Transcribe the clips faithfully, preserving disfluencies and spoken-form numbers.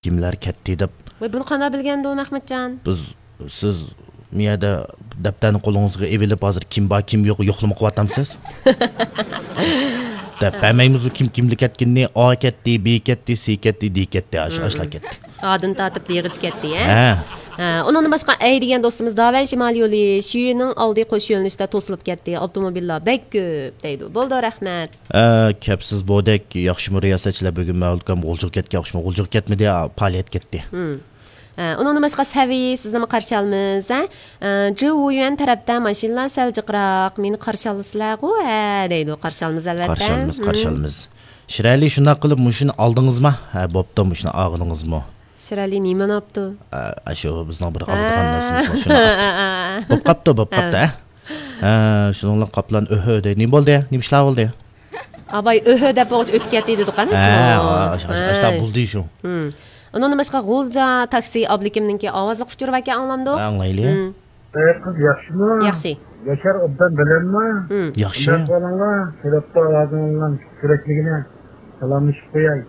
كىملەر كەتتى دەپ. ۋاي، بۇنى قانداق بىلگەندۇ ئەخمەتجان؟ بىز، سىز مۇ يەردە دەپتەرنى قولىڭىزغا ئېلىپ، ھازىر كىم بار، كىم يوق، يوقلىما قىلىۋاتامسىز؟ دەپ بەرمەيمىزۇ، كىم كىملەر كەتكىنىنى. ئا كەتتى، بى كەتتى، سى كەتتى، دى كەتتى، ئاش-، ئاشلار كەتتى. ئادىن تارتىپ دېغىچە كەتتى، ھە؟ ھە. ھە، ئۇنىڭدىن باشقا ئەي دېگەن دوستىمىز داۋەن شىمال يولى، شىيۈنىڭ ئالدى قوش يۆنىلىشتە توسۇلۇپ كەتتى، ئاپتوموبىللار بەك كۆپ دەيدۇ. بولدى، رەھمەت. ئە، كەپسىز بودەك، ياخشىمۇ رىياسەتچىلەر؟ بۈگۈن مەۋلۇتكام غۇلجىغا كەتكەن ئوخشىماي، غۇلجىغا كەتمىدى، پائالىيەتكە كەتتى. ھە، ئۇنىڭدىن باشقا سەۋىي، سىزنىمۇ قارشى ئالىمىز، ھە؟ ئە، جۇۋيۈەن تەرەپتە ماشىنىلار سەل جىقراق، مېنى قارشى ئالىسىلەرغۇ، ھە دەيدۇ. قارشى ئالىمىز، ئەلۋەتتە. قارشى ئالىمىز، قارشى ئالىمىز. شىرئەلى، شۇنداق قىلىپ مۇشۇنى ئالدىڭىزما؟ ھە، بوپتۇ، مۇشۇنى ئالغىنىڭىزمۇ؟ شىرئەلى نېمىنى ئاپتۇ؟ ئە، شۇ بىزنىڭ بىر ئالىدىغان نەرسىمىز بار، شۇنى ئاپتۇ. بوپ قاپتۇ، بوپ قاپتۇ، ھە. ھە، شۇنىڭ بىلەن قاپلان ئۆھۆ دەي. نېمە بولدى؟ نېمە ئىشلار بولدى؟ ئاباي ئۆھۆ دەپ بولغۇچە ئۆتۈپ كەتتى دېدۇق ئەمەسمۇ؟ ھە، ئاشۇ، ئاشۇ، ھە. بولدى شۇ. ئۇنىڭدىن باشقا غۇلجا تاكسى ئابلىكىمنىڭكى ئاۋازلىق ئۇچۇرى باركەن، ئاڭلامدۇ؟ ئاڭلايلى. ئەي قىز، ياخشىمۇ؟ ياخشى. ياشار ئوبدان بىلەمما؟ ياخشى. قانداق ئەھۋالىڭلار؟ سۈرەتتە ئاۋازىڭلار كۆرەكلىكىنى سالاملىشىپ قوياي.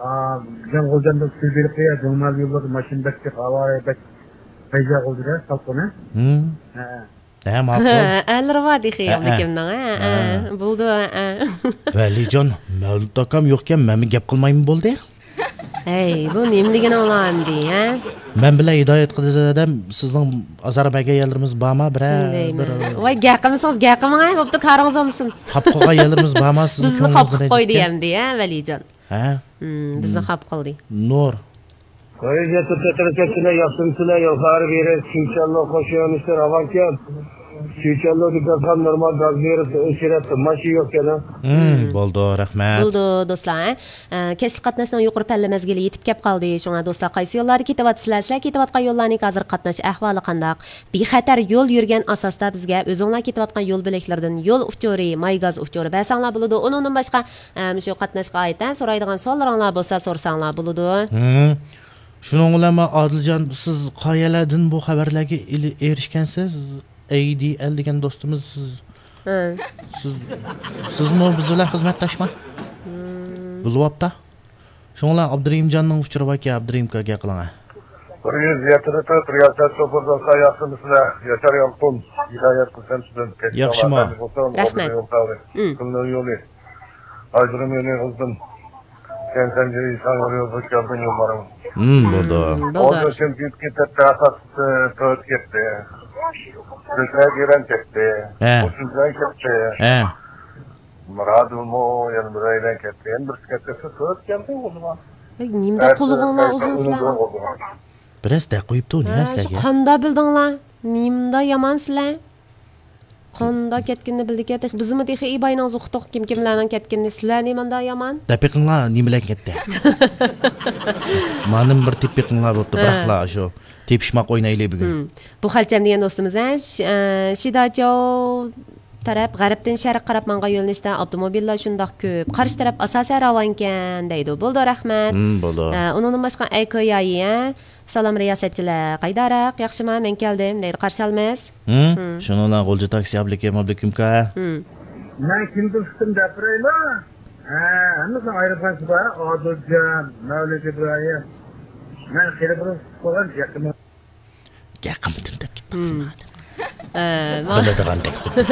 ئا، بىزنىڭ غۇلجامدا سۈر بېرىپ قوياي. جۇڭمال يوللىرىدا ماشىنا بەك جىق، ھاۋا بەك پەيزا غۇلجىدا سالقىنى. ھە. ھە، ماقۇل. ئەلىرى بار تېخى ھە، ھە. ئابلىكىمنىڭ، ھە، ھە. بولدى، ھە. ۋەلىجان، مەۋلۇت ئاكام يوقكەن، مەنمۇ گەپ قىلمايمۇ بولدى؟ ھەي، بۇ نېمە دېگىنىڭلار ئەمدى، ھە؟ مەن بىلەن ھىدايەت قىلىدىغان ئادەم، سىزنىڭ ئازار بەرگەن يەرلىرىمىز بارما؟ بىرەر، شۇندايمۇ. بىر ۋاي، گەپ قىلمىسىڭىز، گەپ قىلماڭ، ھە، بوپتۇ، كارىڭىز بولمىسۇن. خاپا قىلغان يەرلىرىمىز بارما سىزنىڭ؟ بىزنى كۆڭلىڭىزنى خاپا قىلىپ قويدى رەنجىتكەن؟ ئەمدى، ھە، ۋەلىجان؟ ھە؟ ھىم، بىزنى خاپا قىلدى. نۇر. ھۆرىيەت تەتەركەتچىلەر ياخشىمۇسىلەر؟ يول خارى بېرىپ، سۈيچەللو قوش يۆنىلىشتە راۋانكەن. سۈيچەللودىكى داستىخان نورمال گاز بېرىپ ئۆچۈرەتتى. ماشىنا يوقكەن، ھە؟ ھىم، بولدى، رەھمەت. بولدى، دوستلار، ھە؟ ئە، كەچلىك قاتناشنىڭ يۇقىرى پەللە مەزگىلى يېتىپ كەپ قالدى. شۇڭا دوستلار، قايسى يوللاردا كېتىۋاتىسىلەر؟ سىلەر كېتىۋاتقان يوللارنىڭكى ھازىر قاتناش ئەھۋالى قانداق؟ بىخەتەر يول يۈرگەن ئاساستا بىزگە ئۆزۈڭلار كېتىۋاتقان يول بۆلەكلىرىدىن يول ئۇچۇرى، ماي گاز ئۇچۇرى بەرسەڭلار بولىدۇ. ئۇنىڭدىن باشقا، ئە، مۇشۇ قاتناشقا ئائىت، ھە، سورايدىغان سوئاللىرىڭلار بولسا سورىساڭلار بولىدۇ. ھىم. شۇنىڭ بىلەن مەن ئادىلجان، سىز قايەرلەردىن بۇ خەۋەرلەرگە ئېرىشكەنسىز؟ ئەي دى ئەل دېگەن دوستىمىز، سىز، ھە. سىز، سىزمۇ بىز بىلەن خىزمەتداشما؟ ھىم. بولۇۋاپتا. شۇڭا ئابدۇرېھىمجاننىڭ ئۇچۇرى باركەن، ئابدۇرېھىم ئاكا گەپ قىلىڭا. بىر يۈز يەتتە تۆت رىياسەت شوپۇر دوستلار، ياخشىمۇسىلەر؟ ياشار يالقۇن، ھىدايەت قىلسام سىزدىن. ياخشىمۇ؟ رەھمەت. قۇمنىڭ يولى. ئايدۇرۇم يولى قىلدىم. كەنسەنجى ئىسان يولى يولغا كەلدىم يوللارغا. ھىم، بولدى. ھىم، بولدى. ئوردۇ چېمپىيونغا كەتتى، ئاساس، ئە، تۆت كەتتى. كۆكرەك يۈرەن كەتتى. ھە. ئوتتۇز بىلەن كەتتى. ھە. مۇرادۇمۇ يەنە بىرەيلەن كەتتى. يەنە بىرسى كەتتى. تۆت كەلدى ئۇنىڭغا. ئەي، نېمىدە قۇلىقىڭلار ئۇزۇن سىلەرنىڭ؟ بىرەز دەق قويۇپتۇ، ھە، نېمە سىلەرگە؟ قانداق بىلدىڭلار؟ نېمىدە يامان سىلەر؟ قانداق كەتكىنىنى بىلدىكەن، تېخى بىزمۇ تېخى ئىباينىڭ زۇقتۇق كىم كىملەرنىڭ كەتكىنىنى، سىلەرنى ماندا يامان. دەپ بېقىڭلار، نېمە بىلەن كەتتى؟ مانا بىر تېپىپ بېقىڭلار بوپتۇ، ھە. بىراقلا شۇ تېپىشماق ئوينايلى بۈگۈن. ھىم. بۇ خەلچەم دېگەن دوستىمىز، ھە، ش-، ئە، شىداچاۋ تەرەپ غەربتىن شەرققە قاراپ ماڭغان يۆنىلىشتە ئاپتوموبىللار شۇنداق كۆپ. قارشى تەرەپ ئاساسەن راۋانكەن دەيدۇ. بولدى، رەھمەت. ھىم، بولدى. ئە، ئۇنىڭدىن باشقا ئەي كويايى، ھە؟ سالام رىياسەتچىلەر، قايداراق، ياخشىما، مەن كەلدىم دەيدۇ، قارشى ئالىمىز. ھىم؟ ھىم. شۇنىڭ بىلەن غۇلجا تاكسى ئابلىكىم، ئابلىكىمكا. ھىم. مەن كىمدىن ئۇقتۇم دەپ بېرەيلا؟ ھە، ھەممىسىنىڭ ئايرىم قايسى بار؟ ئادىلجان، مەۋلىت ئىبراھىم. مەن خېلى بۇرۇن ئۇقۇپ قالغان يېقىنىم. گەپ قىلمىدىم دەپ كېتىپتۇ. ھىم. ئە، ما-، بىلىدىغاندەك خۇددى.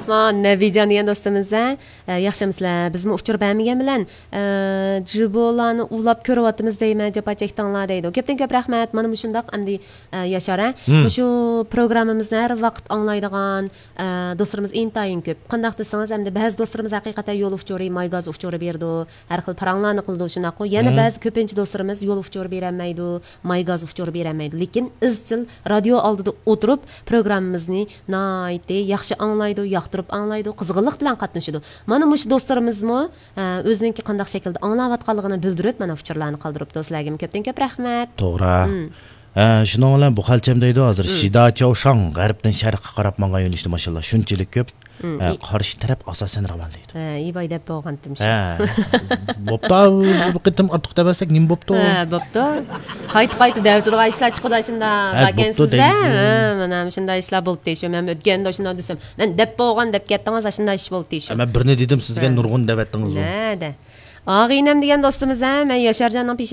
ما نەبىجان دېگەن دوستىمىز، ھە؟ ئە، ياخشىمۇسىلەر؟ بىزمۇ ئۇچۇر بەرمىگەن بىلەن، ئە، جىبولارنى ئۇلاپ كۆرۈۋاتىمىز دەيمەن، جاپا چەكتىڭلار دەيدۇ. كۆپتىن كۆپ رەھمەت. مانا مۇشۇنداق ئەمدى، ئە، ياشار، ھە؟ ھىم. مۇشۇ پروگراممىمىزنى ھەر ۋاقىت ئاڭلايدىغان، ئە، دوستلىرىمىز ئىنتايىن كۆپ. قانداق دېسىڭىز، ئەمدى بەزى دوستلىرىمىز ھەقىقەتەن يول ئۇچۇرى، ماي گاز ئۇچۇرى بېرىدۇ. ھەر خىل پاراڭلارنى قىلىدۇ، شۇنداققۇ؟ يەنە ھىم. بەزى كۆپىنچە دوستلىرىمىز يول ئۇچۇرى بېرەلمەيدۇ، ماي گاز ئۇچۇرى بېرەلمەيدۇ. لېكىن ئىزچىل رادىيو ئالدىدا ئولتۇرۇپ، پروگراممىمىزنى ناھايىتى ياخشى ئاڭلايدۇ، ياقتۇرۇپ ئاڭلايدۇ، قىزغىنلىق بىلەن قاتنىشىدۇ. مانا مۇشۇ دوستلىرىمىزمۇ، ئە، ئۆزىنىڭكى قانداق شەكىلدە ئاڭلاۋاتقانلىقىنى بىلدۈرۈپ، مانا ئۇچۇرلارنى قالدۇرۇپتۇ. سىلەرگىمۇ كۆپتىن كۆپ رەھمەت. توغرا. ھىم. ئە، شۇنىڭ بىلەن بۇ خەلچەم دەيدۇ، ھازىر ھىم. شىدا چاۋشاڭ غەربتىن شەرققە قاراپ ماڭغان يۆنىلىشتە ماشىنىلار شۇنچىلىك كۆپ. ھىم، ئە، ئى- قارشى تەرەپ ئاساسەن راۋان دەيدۇ. ھە، ئىباي دەپ بولغانتىم شۇ. ھە. بوپتۇ، بۇ قېتىم ئارتۇق دەۋەرسەك نېمە بوپتۇ؟ ھە، بوپتۇ. قايتا-قايتا دەۋېتىدىغان ئىشلار چىقىدۇ ئاشۇنداق. ھە، بوپتۇ دەيسىز. ھە، مانا مۇشۇنداق ئىشلار بولدى شۇ. مەن ئۆتكەندە شۇنداق دېسەم، مەن دەپ بولغان دەپ كەتتىڭىز، ئاشۇنداق ئىش بولدى شۇ. ھە، مەن بىرنى دېدىم، سىزگە ھە. نۇرغۇن دەۋەتتىڭىزغۇ. نەدە؟ ئاغىنەم دېگەن دوستىمىز ھە، مەن ياشارجاننىڭ پېشانىسى.